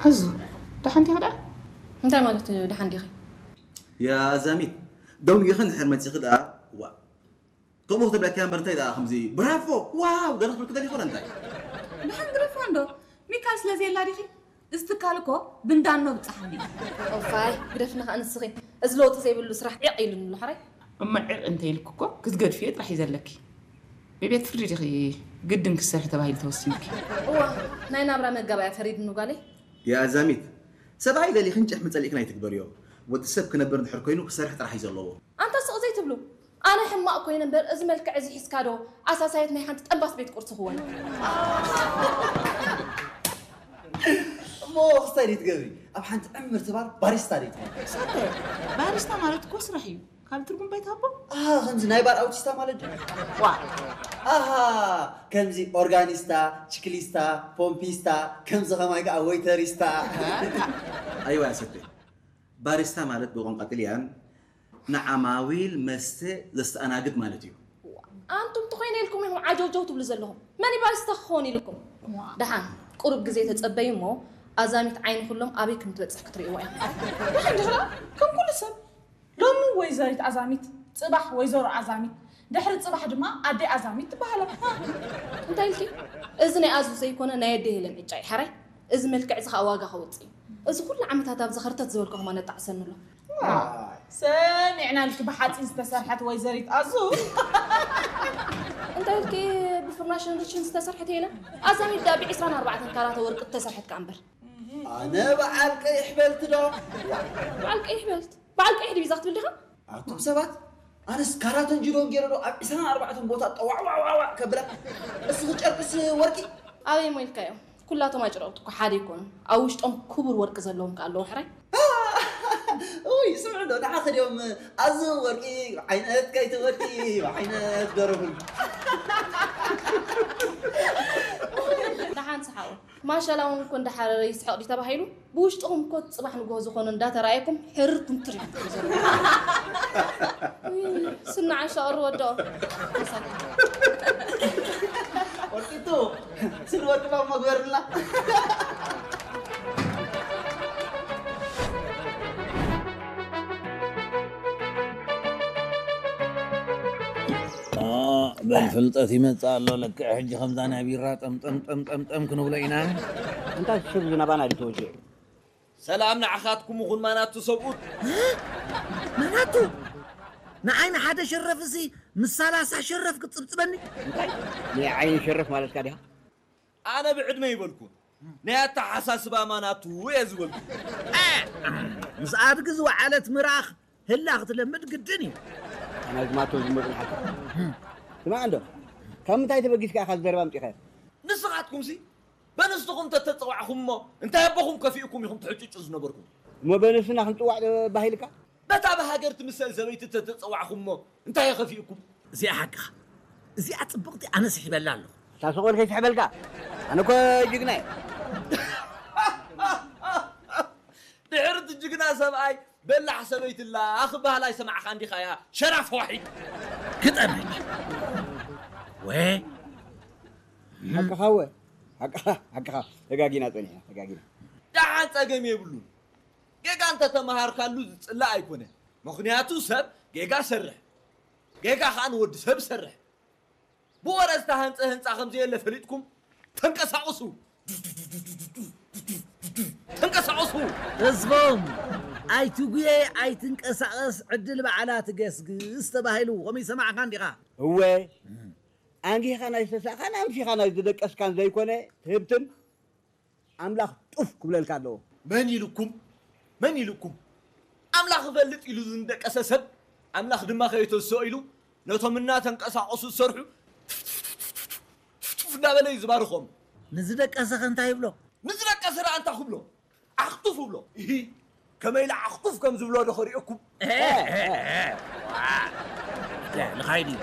ኣዙ፣ ደሓን ዲኺ ደኣ? እንታይ ማለት እዩ ደሓን ዲኺ? ያ ኣዛሚት፣ ደንጊኺ እንድሕር መጺኺ ደኣ፣ ዋ፣ ከምኡ ክትብለኪ እምበር እንታይ ደኣ ከምዚ ብራቮ፣ ዋው፣ ገለ ክብልኪ ደሊኹ ዶ እንታይ? ደሓን ግደፋ እንዶ፣ ሚካል ስለ ዘየላ ዲኺ? እዚ ትካል እኮ ብንዳኖ ብጻሓኒ። ኦፋይ ግደፍኒ ከኣ ንስኺ። እዚ ለውጢ ዘይብሉ ስራሕ ዒቕ ኢሉኒ ኣሎ ሕራይ። እሞ ዒቕ እንተ ኢልኪ እኮ ክትገድፍዮ ጥራሕ እዩ ዘለኪ። ብቤት ፍርዲ ዲኺ ግድን ክትሰርሒ ተባሂሉ ተወሲኑኪ? እዋ፣ ናይ ናብራ መጋባእያ ፈሪድኒ ጓለይ። ያ ኣዛሚት፣ ሰብኣይ ደሊኽን ጭሕሚ ጸሊእክን ኣይትግበርዮ። ወዲ ሰብ ክነብር እንድሕር ኮይኑ ክሰርሕ ጥራሕ እዩ ዘለዎ። ኣንታ ስቕ ዘይትብሉ። ኣነ ሕማቕ ኮይነ እምበር እዚ መልክዕ እዚ ሒዝካ ዶ ኣሳሳየት ናይ ሓንቲ ጠንባስ ቤት ቁርሲ ክወን። እሞ ክስታይ ደይ ትገብሪ ኣብ ሓንቲ ዕምርቲ ባር ባሪስታ ደይ ትኾኒ? ሰተ ባሪስታ ማለት እኮ ስራሕ እዩ። ካልእ ትርጉም ባይትሃቦ? ኣሃ ከምዚ ናይ ባር ኣውቲስታ ማለት ድዩ? ዋ ኣሃ ከምዚ ኦርጋኒስታ፣ ችክሊስታ፣ ፖምፒስታ፣ ከምዚ ከማይ ከዓ ወይተሪስታ። ኣይዋ ሰተ ባሪስታ ማለት ብቋንቋ ጥልያን ንዓማዊል መስተ ዘስተኣናግድ ማለት እዩ። ኣንቱም ተኾይነ ኢልኩም ኢኹም ዓጀውጀው ትብሉ ዘለኹም። መን እዩ ባሪስታ ክኸውን ኢልኩም? ደሓን ቁሩብ ግዜ ተጸበዩ እሞ ኣዛሚት ዓይኒ ኩሎም ኣበይ ከም ትበጽሕ ክትርእይዋ ኢኹም። ደሓን ድሕራ ከም ኩሉ ሰብ ሎሚ ወይዘሪት ኣዛሚት፣ ጽባሕ ወይዘሮ ኣዛሚት፣ ድሕሪ ጽባሕ ድማ ኣደይ ኣዛሚት ትበሃላ። እንታይ ኢልኪ? እዚ ናይ ኣዙ ዘይኮነ ናይ ኣደይ ሄለን ዕጫ እዩ ሓራይ። እዚ መልክዕ እዚ ከዓ ዋጋ ከውፅእ እዩ። እዚ ኩሉ ዓመታት ኣብዚ ኸርተት ዝበልኩ ከማ ነጣዕሰኒ ኣሎ። ሰሚዕናልኪ ብሓፂን ዝተሰርሐት ወይዘሪት ኣዙ። እንታይ ኢልኪ ብፍርናሽን ርችን ዝተሰርሐት የለን? ኣዛሚት ዳ ብ ዒስራን ኣርባዕተን ካራተ ወርቂ ዝተሰርሐት ከዓ እምበር። ኣነ በዓል ቀይሕ በልቲ ዶ? በዓል ቀይሕ በልት በዓል ቀይሕ ድዩ ዛ ክትብል ዲኻ? ኣቱም ሰባት ኣነስ ካራተን ጅዶን ገይረ ዶ ኣብ ዒስራን ኣርባዕተን ቦታ ጠዋዕዋዕዋዕዋዕ ከብላ እስኺ ጨርቅስ ወርቂ ኣበይ ሞ ኢልካዮ ኩላቶም ኣጭረቕቲ እኮ ሓደ ኣይኮኑን ኣብ ውሽጦም ክቡር ወርቂ ዘለዎም ከ ኣለዉ ሕራይ ውይ ስምዑ ዶ ንዓኺ ድዮም ኣዝዮም ወርቂ ዓይነት ከይትወዲ ዓይነት ደረፉሉ ደሓን ሰሓቑ ማሻላ እውን እኮ እንዳሓረረ ይስሕቕ ድዩ ተባሂሉ ብውሽጥኹም እኮ እቲ ፅባሕ ንግሆ ዝኾነ እንዳተረኣየኩም ሕርር ኩምትር ኢኹም ትብሉ ዘለኹም። ውይ፣ ስኒ ዓሻ ቅሪ ወድኦ። ወርቂቱ ስኒ ወርቂ ባብ መግበርልና። በል ፍልጠት ይመጽእ ኣሎ ለክዕ ሕጂ ከምዛ ናይ ቢራ ጠምጠም ጠምጠም ጠም ክንብሎ ኢና። እንታይ ትስብ ዝናባና ድተወጀ ሰላም ንዓኻትኩም ይኹን ማናቱ ሰብኡት። ማናቱ ንዓይ ንሓደ ሸረፍሲ ምስ ሰላሳ ሸረፍ ክትጽብጽበኒ? እንታይ ናይ ዓይኒ ሸረፍ ማለትካ ዲኻ? ኣነ ብዕድመ ይበልኩ ናይ ኣተሓሳስባ ማናቱ እየ ዝበልኩ። ምስ ኣድጊ ዝወዓለት ምራኽ ህላ ክትለምድ ግድን እዩ። ኣናይ ዝማቶ ዝመጡ ንሓቂ ስማዕ እንዶ ካብ ምንታይ ተበጊስካ ኢኻ ዘረባ ኣምፂኻዮ? ንስኻትኩምሲ በንስትኹም ተተፀዋዕኹም እሞ እንታይ ኣቦኹም ከፊእኩም ኢኹም ትሕጭጩ ዝነበርኩም? እሞ በንስትና ክንፅዋዕ ዶ ባሂልካ? በታ ብሃገር ትምሰል ሰበይቲ ተተፀዋዕኹም እሞ እንታይ ከፊእኩም? እዚኣ ሓቅኻ። እዚኣ ፅብቕቲ ኣነ ስሒበላ ኣለኹ። እታ ሰቖል ከይስሕበልካ ኣነ እኮ ጅግና እየ። ድሕሪ እቲ ጅግና ሰብኣይ በላሕ ሰበይቲ ላ ክበሃል ኣይሰማዕኻን ዲኻ ያ ሸራፍ ዋሒድ። ግጠመች ወ ሓቅኻ ወ ሓቅኻ ሓቅኻ ተጋጊና ጸኒሕና ተጋጊና። ደሓን ጸገም የብሉን። ጌጋ እንተተመሃርካሉ ዝጽላእ ኣይኮነን። ምኽንያቱ ሰብ ጌጋ ሰርሕ። ጌጋ ኸኣ ንወዲ ሰብ ሰርሕ። ብወረ ዝተሃንጸ ህንጻ ከም ዘየለ ፈሊጥኩም ተንቀሳቐሱ። ተንቀሳቐሱ። ተስፎም ኣይትጉየ ኣይትንቀሳቐስ ዕድል ባዕላ ትገስግስ ተባሂሉ ከምኡ ይሰማዕካ እንዲኻ? እወ ኣንጊኻ ናይ ዝተሳእኻን ኣምሲኻ ናይ ዝደቀስካን ዘይኮነ ትህብትም ኣምላኽ ጡፍ ክብለልካ ኣለዎ። መን ኢሉኩም? መን ኢሉኩም? ኣምላኽ እፈልጥ ኢሉ ዝንደቀሰ ሰብ ኣምላኽ ድማ ከየተስኦ ኢሉ ነቶም እናተንቀሳቐሱ ዝሰርሑ ትፍትፍ እንዳበለ እዩ ዝባርኾም። ንዝደቀሰኸ እንታይ ይብሎ? ንዝደቀሰ ደኣ እንታይ ክብሎ? ዓኽቱፍ እብሎ። እሂ ከመይ ኢለ ዓኽቱፍ ከም ዝብሎ ዶ ከርእየኩም? ንኻይድ እዩ።